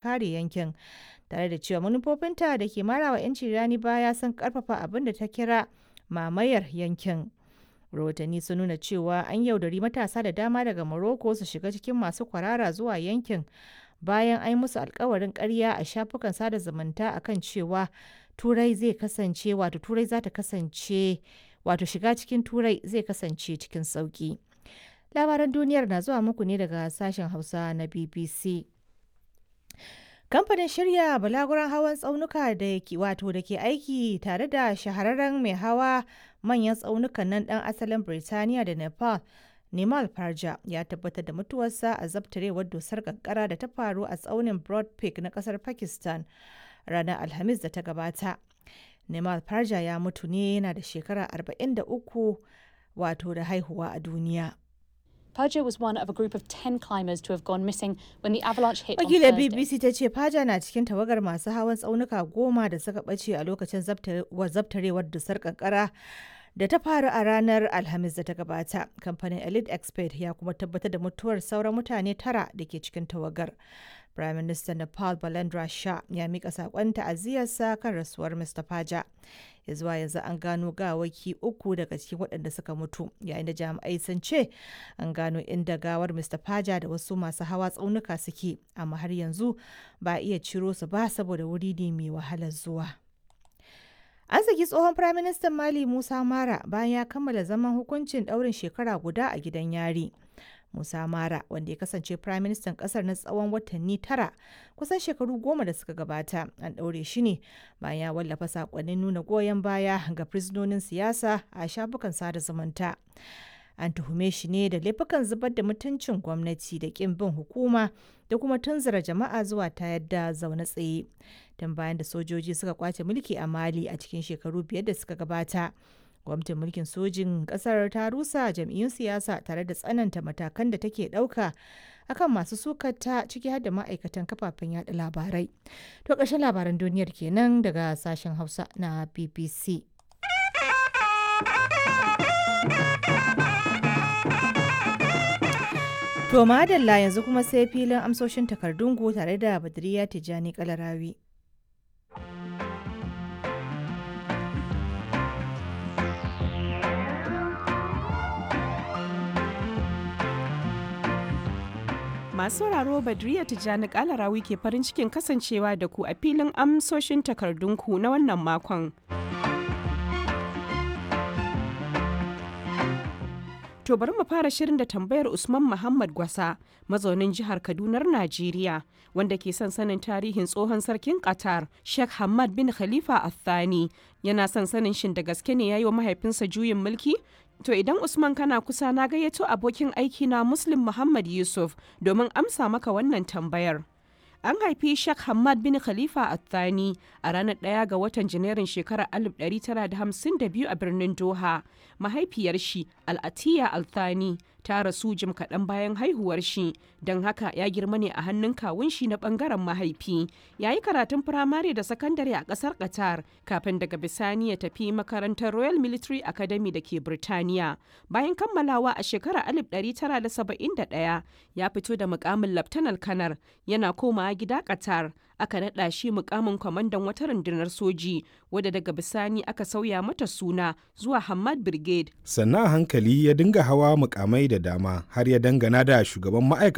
Kare yankin, tare da cewa manufofinta da ke marawa 'yanci rani baya sun karfafa abin da ta kira mamayar yankin. Rahotanni sun nuna cewa an yaudari matasa da dama daga Morocco su shiga cikin masu kwarara zuwa yankin bayan an yi musu alkawarin karya a shafukan sada zumunta a kan cewa Turai zai kasance wato Turai za ta kasance wato shiga cikin Turai zai kasance cikin sauki. Labaran duniyar na zuwa muku ne daga sashen Hausa na BBC. Kamfanin shirya balaguron hawan tsaunuka da ke wato da ke aiki tare da shahararren mai hawa manyan tsaunukan nan dan asalin Birtaniya da Nepal, Nimal Parja ya tabbatar da mutuwarsa a zabtarewar dusar kankara da ta faru a tsaunin Broad Peak na kasar Pakistan ranar Alhamis da ta gabata. Nimal Parja ya mutu ne yana da shekara 43 wato da haihuwa a duniya. Perja was one of a group of 10 climbers to have gone missing when the avalanche hit on Wakilar Thursday. BBC ta ce Faja na cikin tawagar masu hawan tsaunuka 10 da suka ɓace a lokacin zabtarewar dusar kankara da ta faru a ranar Alhamis da ta gabata. Kamfanin Elite Expert ya kuma tabbatar da mutuwar sauran mutane tara da ke cikin tawagar. Prime Minister Nepal Balendra Shah ya mika sakon ta'aziyarsa kan rasuwar Mr. Faja. Ya zuwa yanzu an gano gawaki uku daga cikin waɗanda suka mutu, yayin da jami'ai sun ce an gano inda gawar Mr. Faja da wasu masu hawa tsaunuka suke, amma har yanzu ba a iya ciro su ba saboda wuri ne mai wahalar zuwa. An saki tsohon Firaministan Mali Musa Mara bayan ya kammala zaman hukuncin ɗaurin shekara guda a gidan yari. Musa Mara, wanda ya kasance Firaministan ƙasar na tsawon watanni 9 kusan shekaru 10 da suka gabata, an ɗaure shi ne bayan ya wallafa saƙonnin nuna goyon baya ga fursunonin siyasa a shafukan sada zumunta. An tuhume shi ne da laifukan zubar da mutuncin gwamnati da ƙin bin hukuma da kuma tunzura jama'a zuwa tayar da zaune tsaye. Tun bayan da sojoji suka kwace mulki a Mali a cikin shekaru 5 da suka gabata. Gwamnatin mulkin sojin kasar ta rusa jam'iyyun siyasa tare da tsananta matakan da take ɗauka akan masu sukata ciki har da ma'aikatan kafafen yada labarai. To ƙarshen labaran duniyar kenan daga sashen Hausa na BBC. To madalla yanzu kuma sai filin amsoshin takardun ku tare da Badriya Tijjani Kalarawi. Masu sauraro Badriya Tijjani Kalarawi ke farin cikin kasancewa da ku a filin amsoshin takardunku na wannan makon. To bari mu fara shirin da tambayar Usman Muhammad Gwasa, mazaunin jihar Kadunar Najeriya, wanda ke son sanin tarihin tsohon sarkin Qatar, Sheikh Hamad bin Khalifa Al-Thani. Yana son sanin shin da gaske ne yayi wa mahaifinsa juyin mulki? To idan Usman kana kusa na gayyato abokin aiki na Muslim Muhammad Yusuf domin amsa maka wannan tambayar. An haifi Sheikh Hamad bin Khalifa Al-Thani a ranar 1 ga watan Janairun shekarar 1952 a birnin Doha. Mahaifiyar shi Al-Atiya Al-Thani ta rasu jim kaɗan bayan haihuwar shi, don haka ya girma ne a hannun kawun shi na ɓangaren mahaifi. Ya yi karatun firamare da sakandare a ƙasar Qatar kafin daga bisani ya tafi makarantar Royal Military Academy da ke Birtaniya. Bayan kammalawa a shekarar 1971 ya fito da mukamin Laftanar Kanar yana komawa gida Qatar aka naɗa shi mukamin kwamandan wata rundunar soji wadda daga bisani aka sauya mata suna zuwa Hamad Brigade. Sannan a hankali ya dinga hawa mukamai da dama har ya dangana da shugaban ma'aikatan